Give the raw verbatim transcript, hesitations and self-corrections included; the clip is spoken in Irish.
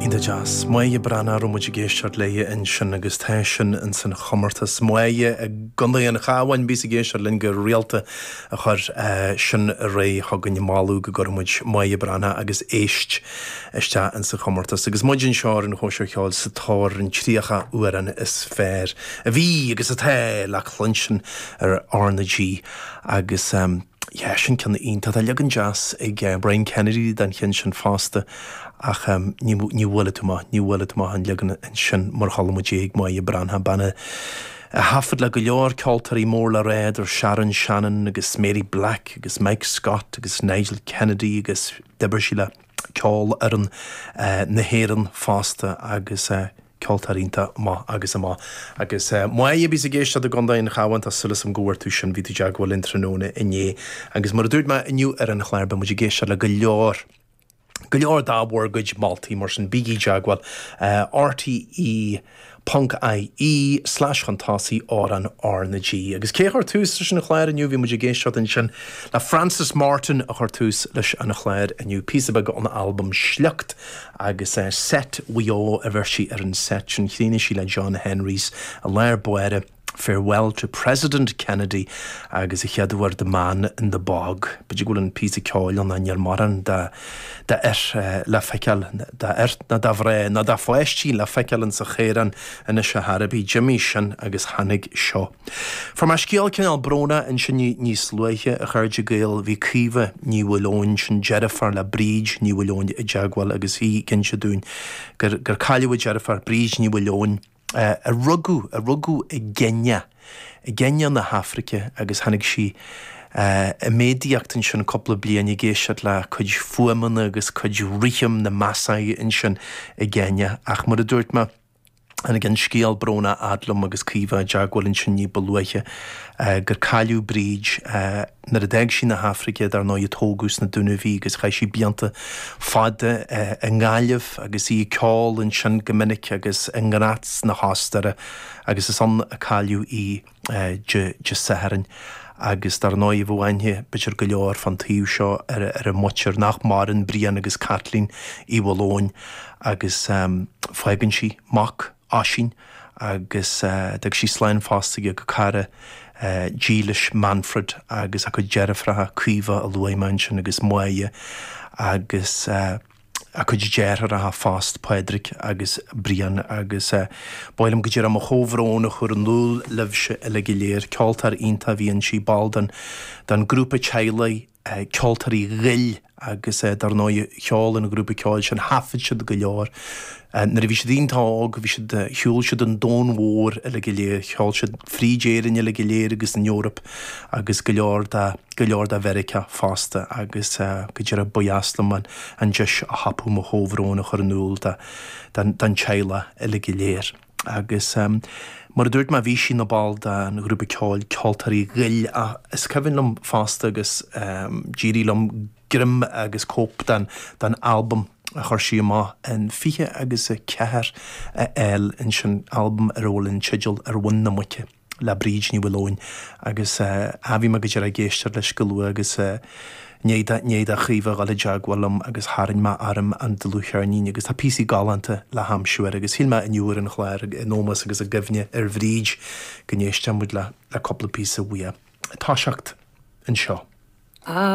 Iontach deas. Máire Breathnach a raibh muid ag éisteacht léi ansin agus tá sin in san chomórtas. Máire i gContae an Chabháin a bhíos ag éisteacht linn go rialta a chuir sin ar aghaidh chugainn ag moladh go gcuirfeadh muid Máire Breathnach agus éist isteach in sa chomórtas. Agus muid anseo ar an Chóisir Cheoil sa tóir ar an tríocha amhrán is fearr a bhí agus atá le cluinstin ar R na G agus um, yeah, sin ceann iontach tá leagan deas ag uh, Brian Kennedy den cheann sin fosta ach um, ní bhfuil tú ní bhfuil tú an leagan sin mar chuala muid ag Máire Breathnach bean a thaifead le go leor ceoltóirí mór le rá idir Sharon Shannon agus Mary Black agus Mike Scott agus Nigel Kennedy agus d'oibir sí le ceolfhoireann uh, na hÉireann fosta agus uh, ceoltóir iontach maith agus amach. Agus uh, Máire a bhíos ag éisteacht i gContae an Chabháin tá súil agam go bhfuair tú sin bhí tú i dteagmháil linn tráthnóna inné. Agus mar a dúirt mé inniu ar an chlár beidh muid ag éisteacht le go leor. Go leor de bhur gcuid moltaí mar sin bígí i dteagmháil uh, RTE ponc IE slash chun tosaigh amhrán R na G. Agus cé chuir tús leis an chlár inniu bhí muid ag éisteacht ansin le Francis Martin a chuir tús leis an chlár inniu píosa beag ón albam Sliocht agus uh, set Mhaigh Eo a bhí sí ar an set sin chríochnaigh sí le John Henrys a léir buire. Farewell to President Kennedy agus a cheadhar the man in the bog. B'fhéidir go bhfuil an píosa ceoil an níl mórán de d'fhir uh, le feiceáil d'fhir ná de mhná ná de pháistí le feiceáil in sa chaorán anois a Harabi Jimmy sin agus tháinig seo. Fuair mé scéal cineál brónach ansin níos luaithe a chairde Gael bhí Caoimhe Ní Mhaoileoin sin deirfiúr le Bríd Ní Mhaoileoin i dteagmháil agus í ag inse dúinn gur gur cailleadh deirfiúr Bríd Ní Mhaoileoin uh, a rugadh a rugadh i gCéinia i gCéinia na hAfraice agus tháinig sí uh, i méadaíocht ansin cúpla bliain ag éisteacht le cuid fuaimeanna agus cuid rithim na Maasai ansin i gCéinia ach mar a dúirt mé Tháinig an scéal brónach fhad liom agus Caoimhe i dteagmháil ansin ní ba luaithe uh, gur cailleadh Bríd uh, nuair a d'fhág sí na hAfraice dar ndóigh tógadh sna Dúnaibh í agus chaith sí blianta fada uh, i nGaillimh agus í ag ceol ansin go minic agus i nGraz na hOstaire agus is ann a cailleadh í uh, Dé Sathairn. agus dar ndóigh bhuaine b'fhéidir go leor fan taobh seo ar, ar a muintir nach maireann Brian agus Kathleen Uí Mhaoileoin agus um, fágann sí mac Oisín agus uh, d'fhág sí slán fosta go cara uh, dílis Manfred agus a cuid deirfiúracha Caoimhe a luaigh mé ansin agus Máire agus uh, a cuid deartháireacha fosta Pádraig agus Brian agus uh, b'áil liom go dtí mo chomhbhrón a chur in iúl libhse uile go léir ceoltóir iontach a bhí inti ball den den grúpa teaghlaigh uh, ceoltóirí Ghoill agus uh, dar ndóigh cheol an grúpa ceoil sin thaifead siad go leor. Uh, nuair a bhí siad iontach óg bhí siad shiúil siad an domhan mhór uile go léir, cheol siad fríd Éirinn uile go léir agus an Eoraip agus go leor de go leor de Mheiriceá fosta agus uh, go dtí ba dheas liom an an deis a thapú mo chomhbhrón a chur in iúl den teaghlach uile go léir. Agus um, mar a dúirt mé bhí sí ina ball den ghrúpa ceoil ceoltóirí Ghoill a is cuimhin liom fosta agus um, d'éirigh liom greim agus cóip den den albam a chuir sí amach in fiche agus a ceathair a fháil ansin albam ar bhfuil an teideal ar mhuin na muice le Bríd Ní Mhaoileoin agus uh, bhí mé go dtí ag éisteacht leis go luath agus uh, ní do Chaoimhe a dhul i dteagmháil liom agus tharraing mé orm an dlúthcheirnín agus tá píosaí galánta le haimsiú air agus shíl mé inniu ar an chlár in ómós agus i gcuimhne ar Bhríd go n-éisteann muid le le cúpla píosa uaidh. Toiseacht anseo. Ah.